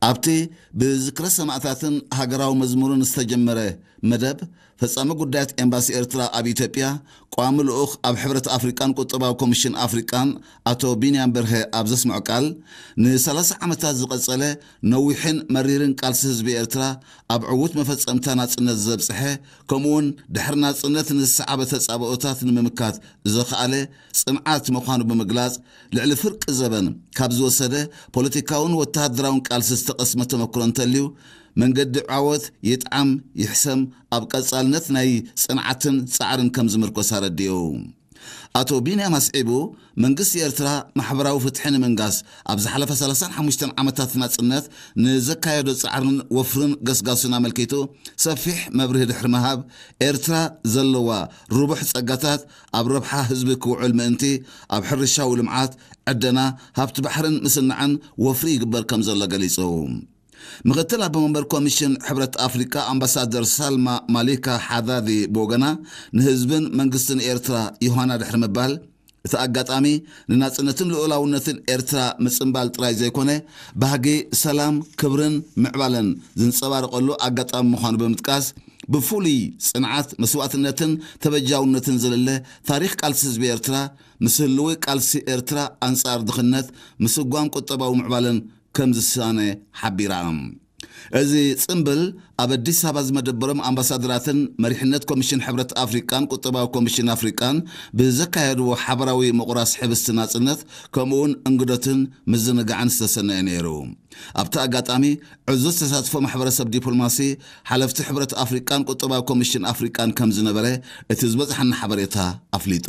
ኣብቲ ብዝክረ ሰማእታትን ሃገራዊ መዝሙርን ዝተጀመረ መደብ፣ ፈጻሚ ጉዳያት ኤምባሲ ኤርትራ ኣብ ኢትዮጵያ፣ ቋሚ ልኡኽ ኣብ ሕብረት ኣፍሪቃን ቁጠባዊ ኮሚሽን ኣፍሪቃን ኣቶ ቢንያም በርሀ ኣብ ዘስምዖ ቃል፣ ን30 ዓመታት ዝቐጸለ ነዊሕን መሪርን ቃልሲ ህዝቢ ኤርትራ ኣብ ዕዉት መፈጸምታ ናጽነት ዘብጽሐ፣ ከምኡውን ድሕሪ ናጽነት ንዝሰዓበ ተጻብኦታት ንምምካት ዘኽኣለ ጽንዓት ምዃኑ ብምግላጽ፣ ልዕሊ ፍርቂ ዘበን ካብ ዝወሰደ ፖለቲካውን ወተሃደራውን ቃልሲ ዝተቐስመ ተመክሮ እንተልዩ፣ መንገዲ ዓወት ይጥዓም ይሕሰም ኣብ ቀጻልነት ናይ ጽንዓትን ጻዕርን ከም ዝምርኮስ ኣረዲኡ። ኣቶ ቢንያም ኣስዒቡ፣ መንግስቲ ኤርትራ ማሕበራዊ ፍትሒ ንምንጋስ ኣብ ዝሓለፈ 35 ዓመታት ናጽነት ንዘካየዶ ጻዕርን ወፍርን ገስጋሱን ኣመልኪቱ ሰፊሕ መብርሂ ድሕሪ ምሃብ፣ ኤርትራ ዘለዋ ርቡሕ ጸጋታት ኣብ ረብሓ ህዝቢ ክውዕል ምእንቲ፣ ኣብ ሕርሻዊ ልምዓት፣ ዕደና፣ ሃብቲ ባሕርን ምስናዕን ወፍሪ ይግበር ከም ዘሎ ገሊጹ። ምኽትል ኣቦ መንበር ኮሚሽን ሕብረት ኣፍሪቃ ኣምባሳደር ሳልማ ማሊካ ሓዳዲ ብወገና፣ ንህዝብን መንግስትን ኤርትራ ዮሃና ድሕሪ ምባል፣ እቲ ኣጋጣሚ ንናጽነትን ልኡላውነትን ኤርትራ ምጽንባል ጥራይ ዘይኮነ፣ ባህጊ ሰላም፣ ክብርን ምዕባለን ዝንጸባረቐሉ ኣጋጣሚ ምዃኑ ብምጥቃስ፣ ብፍሉይ ጽንዓት፣ መስዋእትነትን ተበጃውነትን ዝልለ ታሪኽ ቃልሲ ህዝቢ ኤርትራ፣ ምስ ህልዊ ቃልሲ ኤርትራ ኣንጻር ድኽነት፣ ምስጓም ቁጠባዊ ምዕባለን ከም ዝሳነ ሓቢራ። እዚ ጽምብል ኣብ ኣዲስ ኣበባ ዝመደበሮም ኣምባሳደራትን መሪሕነት ኮሚሽን ሕብረት ኣፍሪቃን ቁጠባዊ ኮሚሽን ኣፍሪቃን ብዘካየድዎ ሓበራዊ ምቑራስ ሕብስቲ ናጽነት፣ ከምኡውን እንግዶትን ምዝንጋዕን ዝተሰነየ ነይሩ። ኣብቲ ኣጋጣሚ፣ ዕዙዝ ተሳትፎ ማሕበረሰብ ዲፕሎማሲ፣ ሓለፍቲ ሕብረት ኣፍሪቃን ቁጠባዊ ኮሚሽን ኣፍሪቃን ከም ዝነበረ እቲ ዝበጽሓና ሓበሬታ ኣፍሊጡ።